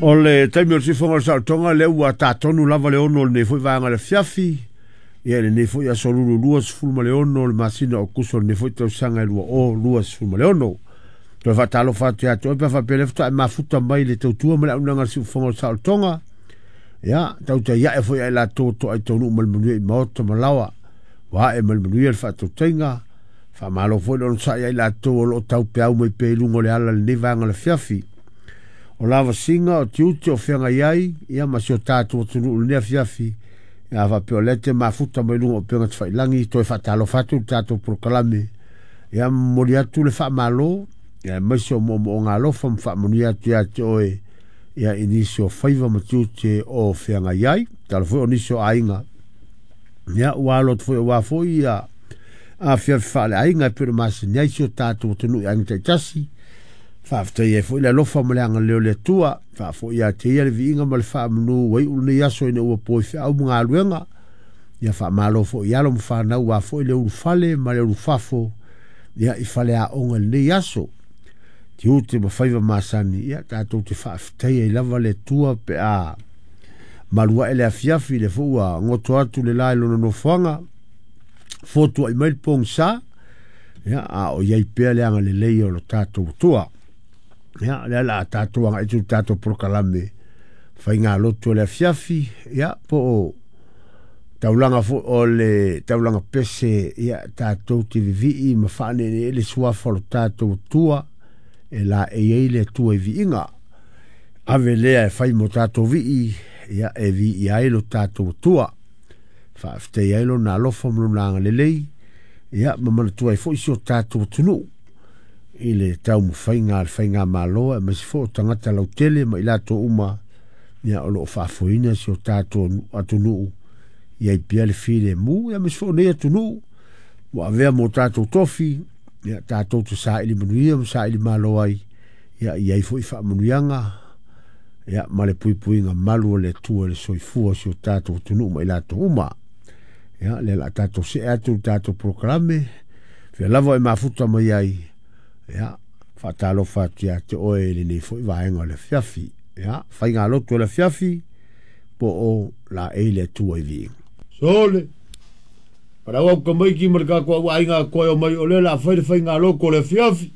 O le taimi o le siufofoga o le saolotoga lea ua tatonu lava le 6 o lenei foi vaega o le afiafi, ia i lenei foi aso Lulu 26 o le masina o Okuso o lenei foi tausaga e 2026. Toe faatalofa atu ia te oe pe a faapea o lea faatoa e mafuta mai i le tautua ma le auaunaga a le siufofoga o le saolotoga. Ia, tautai ae foi ia i latou o toai taunuu ma le manuia i maota ma laoa, ua ae ma le manuia le faatautaiga. Faamalo foi le onosai ia i latou o lo o taupeau mai pea i luga o le ala i lenei vaega o le afiafi. O lavasiga, o tiute o feagai ai, ia ma si o tatou atunuu i lenei afiafi, ia a faapea o lea e te mafuta mai luga o upega tafailagi, toe faatalofa atu i le tatou polokalame, ia momoli atu le faamalo, ia aemaise o moomooga alofa ma faamanuia atu ia te oe, ia i nisi o faiva ma tiute o feagai ai. Tala foi o nisi o aiga, ia ua alo atu foi aua foi ia afiafi faaleaiga e pei ona masani ai si o tatou atunuu i aiga taitasi. Faafetai ai foi le alofa ma le agalelei o le Atua. Faafoi ia te ia le viiga ma le faamanu ua iu lenei aso ina ua po i feau ma galuega. Ia faamalo foi i alo ma fanau aua foi le ulufale ma le ulufafo ia i faleaoga i lenei aso. Tiute ma faiva masani, ia tatou te faafetai ai lava le Atua pe a malu ae le afiafi, lea foi ua goto atu le la i lona nofoaga, fotuai mai le pogisa, ia, a o i ai pea le agalelei o lo tatou Atua. Ia, o lea o le a tatou agai atu i le tatou polokalame faigalotu o le afiafi, ia, po o taulaga foi o le taulaga pese, ia, tatou te vivii ma faaneenee le suafa o lo tatou Atua e laei ai le Atua i viiga. Ave lea e fai mo tatou vii, ia, e viia ai lo tatou Atua. Faafetai ai lona alofa ma lona agalelei, ia, ma manatua ai foi si o tatou atunuu i le taumafaiga a le faigamalo aemaise foi o tagata lautele ma i latou uma, ia, o lo o faafoeina si o tatou atunuu ia i pea le filemu, ia aemaise foi o nei atunuu ua avea mo tatou tofi, ia tatou te saili manuia ma saili malo ai, ia i ai foi faamanuiaga, ia ma le puipuiga malu o le Atua i le soifua o si o tatou atunuu ma i latou uma. Ia, lea o le a tatou see atu i le tatou polokalame, fea lava e mafuta mai ai, ia, faatalofa atu ia te oe i lenei foi vaega o le afiafi. Ia, faigalotu o le afiafi, po o laei le Atua i viiga. Sole, palau au tamaiti ma le tatou au aiga atoa e omai o lea o le a fai le faigalotu o le afiafi.